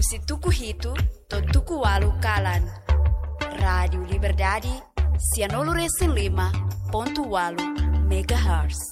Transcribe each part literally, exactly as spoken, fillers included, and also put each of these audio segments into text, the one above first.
Husi tuku hitu to'o tuku ualu kalan. Rádiu Liberdade, sianulu resin lima pontu ualu megahertz.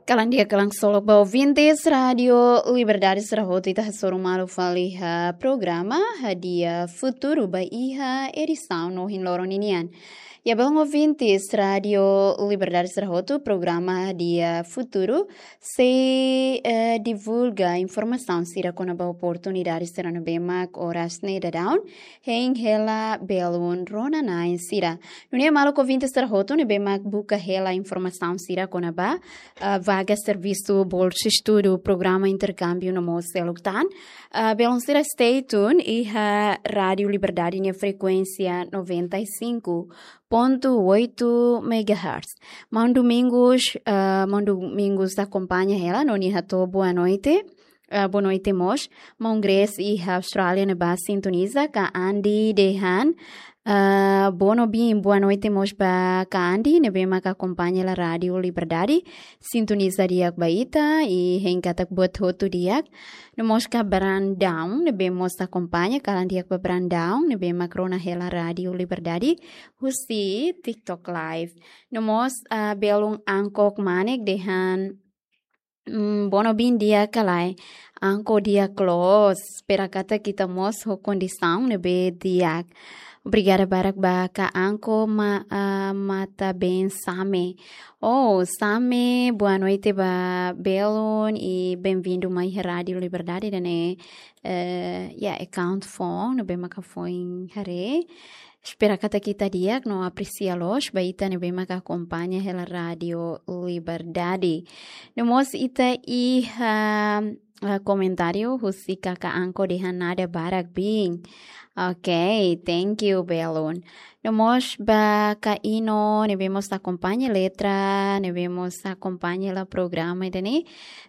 Kalan di'ak, kalan ksolok ba ouvintes Rádiu Liberdade sira hotu, ita hasoru malu fali iha programa Hadi'a Futuru ba iha edisaun ohin loron ninian. Ya, belun ouvintes Rádiu Liberdade sira hotu, programa Hadi'a Futuru sei, eh, divulga informasaun sira kona-ba oportunidade sira ne'ebé mak oras ne'e daudaun hein hela belun rona-na'in sira. Nune'e maluk ouvintes sira hotu ne'ebé mak buka hela informasaun sira kona-ba, ah, vaga servisu, bolsa estudu, programa interkámbiu no mós seluk tan, ah, belun sira stay tune iha Rádiu Liberdade nia frekuénsia noventa e cinco ponto oito megahertz. Maun Domingos, ah, Maun Domingos akompaña hela no nia hato'o boa noite. Ah, boa noite mós. Maun Grace iha Austrália ne'ebá sintoniza, Ka Andi dehan, ah, boa noite, boa noite mós ba Ka Andi ne'ebé mak akompaña hela Rádiu Liberdade. Sintoniza di'ak ba ita, i hein katak buat hotu di'ak. No mós Ka Brandão ne'ebé mós akompaña, kalan di'ak ba Brandão ne'ebé mak rona hela Rádiu Liberdade husi TikTok Live. No mós, ah, belun Angkok Manek dehan, mm, boa noite, di'ak ka lae? Angkok di'ak loos, espera katak ita mós ho kondisaun ne'ebé di'ak. Obrigada barak ba Ka Angkok ma-, ah, Matabeen Same. Oh, Same, boa noite ba belun i bem-vindo mai Rádiu Liberdade ida-ne'e, eh, ya, account foun ne'ebé maka foin haree. Espera katak ita di'ak no apresia loos ba ita ne'ebé maka akompaña hela Rádiu Liberdade. No mós ita iha, ah, komentáriu husi Kaka Angkok dehan nada barak biin. Ok, thank you, belun. No mós ba Ka Ino ne'ebé mós akompaña, Letra ne'ebé mós akompaña hela programa ida-ne'e.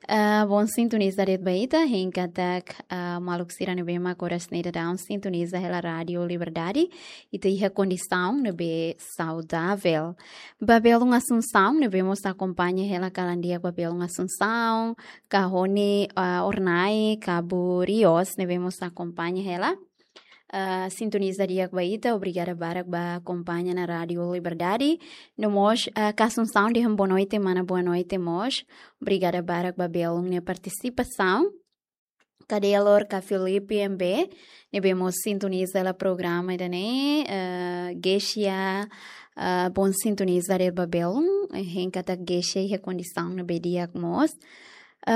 Ah, bom sintoniza de'it ba ita, hein katak, ah, maluk sira ne'ebé mak oras ne'e daudaun sintoniza hela Rádiu Liberdade, ita iha kondisaun ne'ebé saudavel. Ba belun Asunsaun ne'ebé mós akompaña hela, kalan di'ak ba belun Asunsaun, Ka Rony, ah, Ornai, Cabo Rios ne'ebé mós akompaña hela. Ah, sintoniza di'ak ba ita, obrigada barak ba akompaña ona Rádiu Liberdade. No mós, ah, Ka Asunsaun dehan boa noite, mana, boa noite mós. Obrigada barak ba belun nia partisipasaun. Ka Delor, Ka Filipe M B ne'ebé mós sintoniza hela programa ida-ne'e, eh, Geisha, eh, bom sintoniza de'it ba belun, eh, hein katak Geisha iha kondisaun ne'ebé di'ak mós.